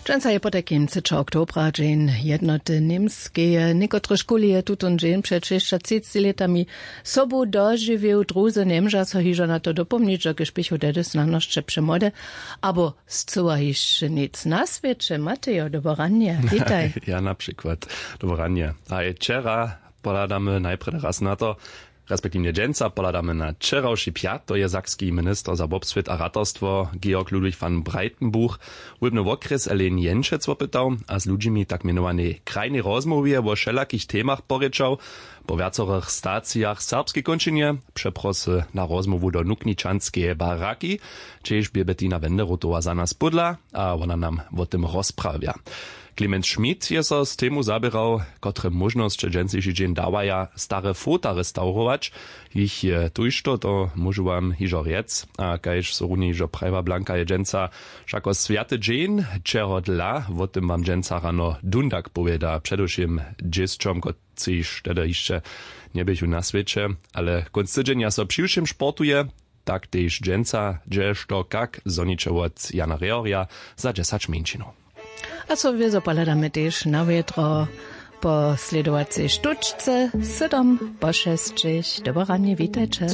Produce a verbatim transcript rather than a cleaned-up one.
Dźensa je potajkim třećeho oktobra, dźeń jednoty němskeje. Někotrež kuli je tutón dźeń před šěsćatřiceći lětami sobu dožiwił, druzy njemža so hižo na to dopomnić, dokelž běchu tehdy snano sće přemłody abo scyła hišće nic na swěće. Matejo, doboranje, witaj. Ja na přikład, doboranje. A je wčera, pohladamy najprjedy raz na to, respektiwnje dźensa pohladamy na wčerawši pjat, to je sakski minister za wobswět a ratarstwo Georg Ludwig van Breitenbuch wólbny wokrjes Elaine Jenčec wopytał a z ludźimi tak mjenowanej krajnej rozmołwje wo wšelakich temach porěčał. Po wjacorych stacijach w serbskej kónčinje přeprosy na rozmołwu do nukničanskeje baraki, hdźež bě Bettina Wenderotowa za nas pódla a wona nam wo tym rozprawja. Clemens Schmidt je so z temu zaběrał, kotre móžnosće dźensniši dźeń dawaja stare fota restaurować. Jich je tójšto, to móžu wam hižo rjec. A kaž so runje hižo prajiła, blanka je dźensa wšako swjaty dźeń, čehodla, wo tym wam dźensa rano dundak powěda, předewšěm dźěsćom, kotřiž tehdy hišće njeběchu na swěće. Ale kónc tydźenja so přiwšěm sportuje, tak tež dźensa, hdźe što kak zhoniće wot Jana Rehorja za dźesać mjeńšinow. A so wězo pohladamy tež na wjetro po slědowacej štóčce, sydom po šesćich. Doboranje, witajće.